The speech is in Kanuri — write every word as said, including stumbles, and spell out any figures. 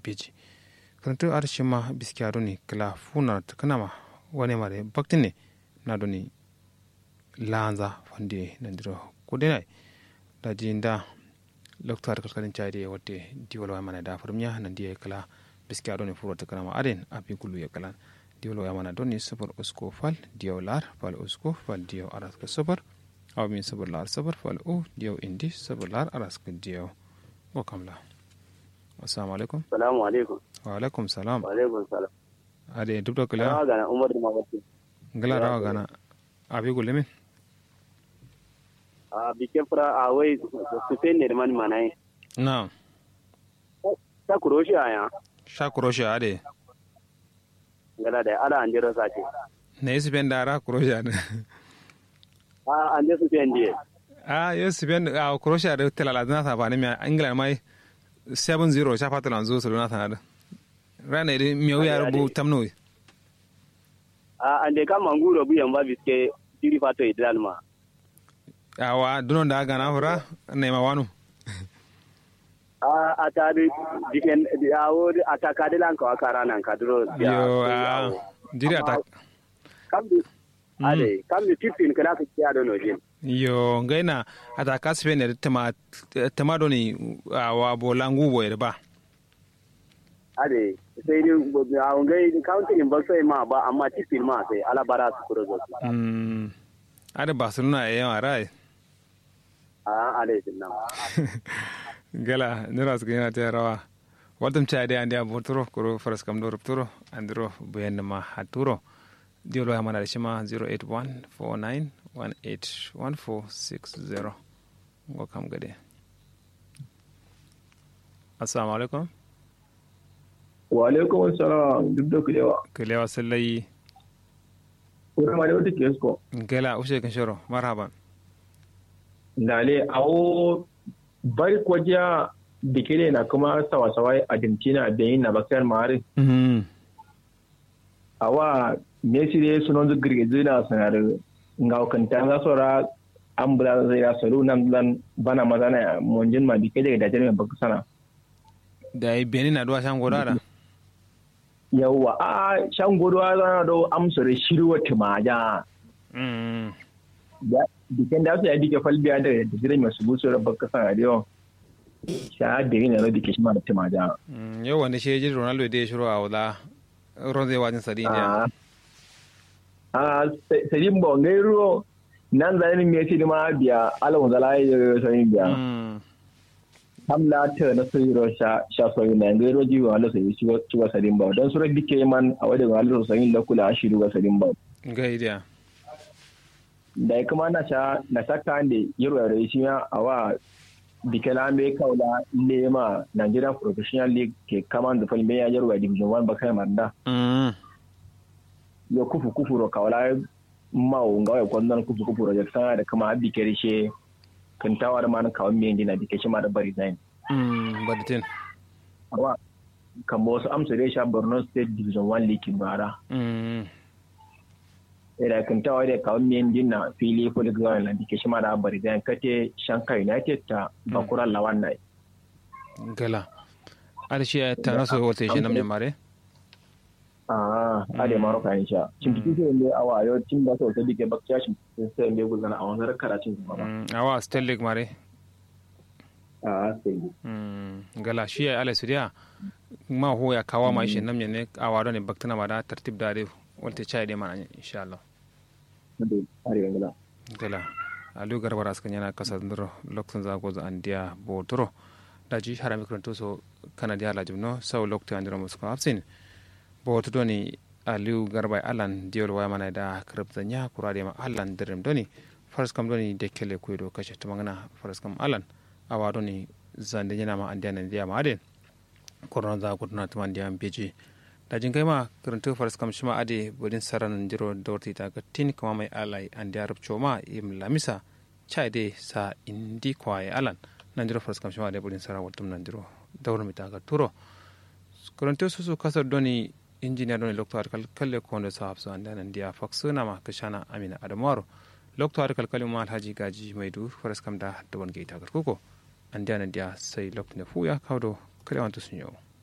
beji. Kǝrǝntǝ adǝ shima biskiya done kǝla funa tǝkǝnama wane mare baktǝne. Na done lanza fande nandiro kudena. Daji nda loktu adǝ kalkalin chai de watte diwol waya mana da furmiya nandi ye kǝla biskiya done furo tǝkǝnama aden abi gulu ye kǝlan. Diwol waya mana done sufur usko fal diyo lar fal usko fal diyo araska sufur. Awo min sufur lar sufur fal u diyo indi sufur lar araska diyo. Ngo kamla. Assalamu alaikum. Salamu alaikum. Wa alaikum salam. Wa alaikum salam. Ade duk do kila. Rawa gana umar duma watte. Ngila rawa gana. Abi gulle min. A bike fura a wai sufen ne man manai. Na. Ta kuroshi aya. Sha kuroshi ade. Ngala da ala andero sake. Na yi sufen da ara kuroshi ade. A ande sufen diye. A yo sufen a kuroshi ade talala dana sabani mi ingila mai. Seven zero sha fata lanzu sulu na sanadu. Rana idi miyawu ya rubu tamnowi. A ande kama nguro bu yamba biske. Jiri fato idral ma. Awa dunon da gana fura. Naima wanu. A atadi diken. Awo atakadi lan kawa kara nan kaduro. Yo a. Jiri atak. Kamdi. Ade kamdi tippin kala ka kiya dono jin. Yo ngaina. Ataka spain edi tama. Tama doni. Awa bola ngu boyedi ba. Ade sai dai a ngai county in ba sai ma ba amma tippin ma sai alabara su kuro zo. Ade barcelona ya yawa rai. A ade sinna. Gala nira su gina ta rawa. Waltum cha dai andiya boturo kuro faras kam do rupturo. Andiro bayan ma haturo. Diyo lo ya mana da shima zero eight one four nine one eight one four six zero. Ngo kam gade. Assalamu alaikum. Wa alaikum assalam duk da kulewa. Kulewa sallayi. Kuma ma da wata kesko. Gala ushe kan shoro marhaban. Dale awo bari kwajiya. Bikile na kuma sawa-sawa argentina benin na bakar mari. Awa messi dai sunonzu gǝrgǝzǝ na sǝnarǝ. Ngawo kǝnta nga sora. Ambulance ya solu nan lan bana mazana ya monjin ma bikke jage dajen mai bakka sana. Dai benin aduwa shan godo ada. Yawwa a shan godo a zana do amsore shiru wa tumaja. Bikken da su ya bikke falbiya da jirai mai subu sora bakka sana da yawan. Sha benin na do bikke shi ma da tumaja. Yawwa ni shi ya jiri ronaldo dai shiro a wula. Ronze wajin sadin diya. A sadin ba ngai ruo. Nan zanin me ti ma biya alawun zala ya yi sadin biya. Kam la ta na sai ro sha sha so ina ngai ro ji wa lo sai ci wa sadin ba dan sura dike man a wade wa lo sai la kula shi ru wa sadin ba. Ngai diya. Dai kuma na sha na saka ande yirwa rai shi ya awa. Bikela mbe kaula lema nigeria professional league ke kaman da falme ya yirwa division one bakai manda. Yo kufu kufu ro kaula. Mawu ngawo ya kwanzan kufu kufu ro ya sana da kuma bikeri she. Kintawar man kawo mbe ndina bike shi ma da bari zain. Bari tin. Awa. Kambo wasu amsa dai sha borno state division one league bara. Ira kǝntawa dai kawo miyan dinna fili fulik zaune lan dike shima da bari zain kate shanka united ta bakura lawan nai. Gala. Ada shi ya tana so wata shi namne mare. Aa ade maro kayan sha cintiki so yende awa yo tim da so ta dike bakciya cintiki so yende gulzana a wanzar karacin kuma ba. Awa stellic mare. Aa stellic. Gala shi ya ala sudiya. Ma hu ya kawa ma ishe namne ne awa done baktana ma da tartib da de. Walte chai de mana inshallah. Gala. Aliyu garba da suka yana kasa nduro lokacin zago za andiya botoro. Daji harami kuranto so kana diya lajim no sau lokacin andiro musko absin. Botu doni aliyu garba allan diyol waya mana da karab zanya kura de ma allan dirim doni. Faras kam doni de kele kuido kashe tumangana faras kam allan. Awa doni zande yana ma andiya nan diya ma aden. Korno za guduna tuma ndiya mbeji. Daji ngai ma kǝrǝntǝ faras kam shima ade bǝdin sara nandiro dawar tita gattin kǝma mai alai andiya rubco ma yim lamisa. Chai de sa indi kwaye alan. Nandiro faras kam shima ade bǝdin sara waltum nandiro dawar mita gatturo. Kǝrǝntǝ susu kasar doni injiniya doni lokto adǝ kalkalle kondo sa hafsu andiya nandiya faksǝ nama kǝshana amina adamaro. Lokto adǝ kalkalle ma alhaji gaji maidu faras kam da dawar ngai ta gatkuko. Andiya nandiya sai lokto ne fuya kawdo. Kalewantu sunyo.